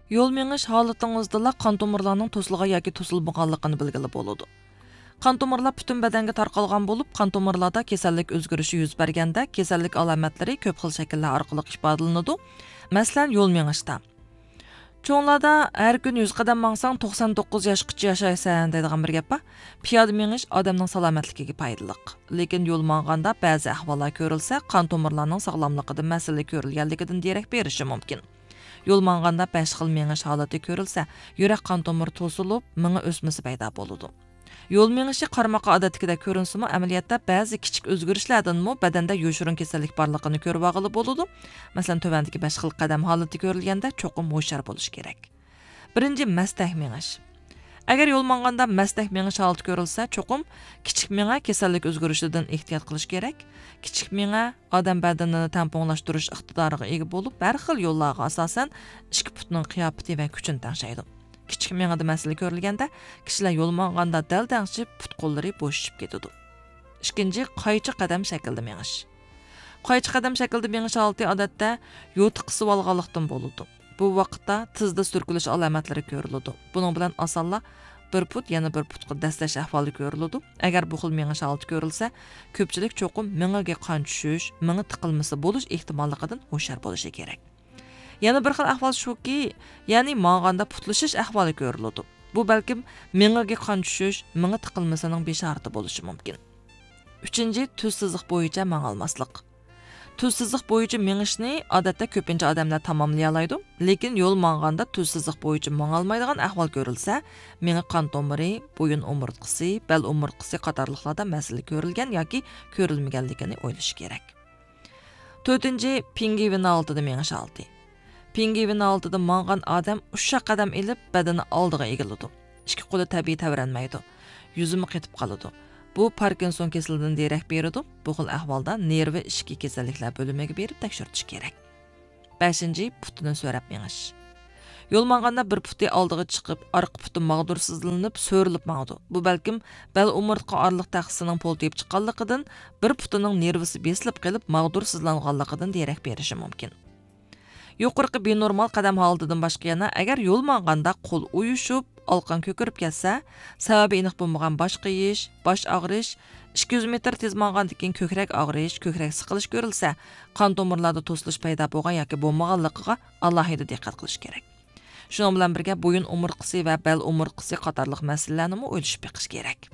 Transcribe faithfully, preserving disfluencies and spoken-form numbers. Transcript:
يول مېڭىش ھالىتىڭىزدىلا قان تومۇرلارنىڭ توسۇلغان ياكى توسۇلمىغانلىقىنى بىلگىلى بولىدۇ. قان تومۇرلار پۈتۈن بەدەنگە تارقالغان بولۇپ، قان تومۇرلاردا كېسەللىك ئۆزگىرىشى يۈز بەرگەندە، كېسەللىك ئالامەتلىرى كۆپ خىل شەكىللەر ئارقىلىق ئىپادىلىنىدۇ. مەسىلەن، يول مېڭىشتا. چوڭلاردا «ھەر كۈن يۈز قەدەم ماڭساڭ، توقسان توققۇز ياشقىچە ياشايسەن» دەيدىغان بىر گەپ بار. پىيادە مېڭىش ئادەمنىڭ سالامەتلىكىگە پايدىلىق. لېكىن يول ماڭغاندا بەزى ئەھۋاللار كۆرۈلسە، قان تومۇرلارنىڭ ساغلاملىقىدا مەسىلە كۆرۈلگەنلىكىدىن دېرەك بېرىشى مۇمكىن. يول ماڭغاندا بەش خىل مېڭىش ھالىتى كۆرۈلسە، يۈرەك قان تومۇرى توسۇلۇپ، مېڭە ئۆسمىسى پەيدا بولىدۇ. يول مېڭىشى قارىماققا ئادەتتىكىدەك كۆرۈنسىمۇ، ئەمەلىيەتتە بەزى كىچىك ئۆزگىرىشلەردىنمۇ بەدەندە يوشۇرۇن كېسەللىك بارلىقىنى كۆرۈۋالغىلى بولىدۇ. مەسىلەن، تۆۋەندىكى بەش خىل قەدەم ھالىتى كۆرۈلگەندە چوقۇم ھوشيار بولۇش كېرەك. بىرىنچى، مەستەك مېڭىش. ئەگەر يول ماڭغاندا مەستەك مېڭىش ھالىتى كۆرۈلسە، چوقۇم كىچىك مېڭە كېسەللىك ئۆزگىرىشىدىن ئېھتىيات قىلىش كېرەك. كىچىك مېڭە ئادەم بەدىنىنى تەڭپۇڭلاشتۇرۇش ئىقتىدارىغا ئىگە بولۇپ، ھەر خىل يوللارغا ئاساسەن ئىككى پۇتنىڭ قىياپىتى ۋە كۈچىنى تەڭشەيدۇ. كىچىك مېڭىدە مەسىلە كۆرۈلگەندە، كىشىلەر يول ماڭغاندا دەلدەڭشىپ، پۇت-قوللىرى بوشىشىپ كېتىدۇ. ئىككىنچى، قايچا قەدەم شەكلىدە مېڭىش. قايچا قەدەم شەكلىدە مېڭىش ھالىتى، ئادەتتە، يوتىقىسىۋالغانلىقتىن بولىدۇ. بۇ ۋاقىتتا تىزدا سۈركىلىش ئالامەتلىرى كۆرۈلىدۇ. بۇنىڭ بىلەن ئاسانلا بىر پۇت يەنە بىر پۇتقا دەسسەش ئەھۋالى كۆرۈلىدۇ. ئەگەر بۇ خىل مېڭىش ھالىتى كۆرۈلسە، كۆپچىلىك چوقۇم مېڭىگە قان چۈشۈش، مېڭە تىقىلمىسى بولۇش ئېھتىماللىقىدىن ھوشيار بولۇشى كېرەك. يەنە بىر خىل ئەھۋال شۇكى، يەنى ماڭغاندا پۇتلىشىش ئەھۋالى كۆرۈلىدۇ. بۇ بەلكىم مېڭىگە قان چۈشۈش، مېڭە تىقىلمىسىنىڭ بېشارىتى بولۇشى مۇمكىن. ئۈچىنچى، تۈز سىزىق بويىچە ماڭالماسلىق. تۈز سىزىق بويىچە مېڭىشنى، ئادەتتە، كۆپىنچە ئادەملەر تاماملىيالايدۇ. لېكىن يول ماڭغاندا تۈز سىزىق بويىچە ماڭالمايدىغان ئەھۋال كۆرۈلسە، مېڭە قان تومۇرى، بويۇن ئومۇرتقىسى، بەل ئومۇرتقىسى قاتارلىقلاردا مەسىلە كۆرۈلگەن ياكى كۆرۈلمىگەنلىكىنى ئويلىشى كېرەك. تۆتىنچى، پىڭگۋىن ھالىتىدە مېڭىش ھالىتى. پىڭگۋىن ھالىتىدە ماڭغان ئادەم ئۇششاق قەدەم ئېلىپ، بەدىنى ئالدىغا ئېگىلىدۇ. ئىككى قولى تەبىئىي تەۋرەنمەيدۇ. يۈزىمۇ قېتىپ قالىدۇ. بۇ پاركىنسون كېسىلىدىن دېرەك بېرىدۇ. بۇ خىل ئەھۋالدا نېرۋا ئىچكى كېسەللىكلەر بۆلۈمىگە بېرىپ تەكشۈرتۈش كېرەك. بەشىنچى، پۇتىنى سۆرەپ مېڭىش. يول ماڭغاندا بىر پۇتى ئالدىغا چىقىپ، ئارقا پۇتى ماغدۇرسىزلىنىپ، سۆرىلىپ ماڭىدۇ. بۇ بەلكىم بەل ئومۇرتقا ئارىلىق تەخسىسىنىڭ پولتىيىپ چىققانلىقىدىن، بىر پۇتىنىڭ نېرۋىسى بېسىلىپ قېلىپ، ماغدۇرسىزلانغانلىقىدىن دېرەك بېرىشى مۇمكىن. يۇقىرىقى بىنورمال قەدەم ھالىتىدىن باشقا يەنە، ئەگەر يول ماڭغاندا قول ئۇيۇشۇپ، ئالىقان كۆكىرىپ كەتسە، سەۋەبى ئېنىق بولمىغان باش قېيىش، باش ئاغرىش، ئىككى يۈز مېتىر تېز ماڭغاندىن كېيىن كۆكرەك ئاغرىش، كۆكرەك سىقىلىش كۆرۈلسە، قان تومۇرلاردا توسۇلۇش پەيدا بولغان ياكى بولمىغانلىقىغا ئالاھىدە دىققەت قىلىش كېرەك. شۇنىڭ بىلەن بىرگە، بويۇن ئومۇرتقىسى ۋە بەل ئومۇرتقىسى قاتارلىق مەسىلىلەرنىمۇ ئويلىشىپ بېقىش كېرەك.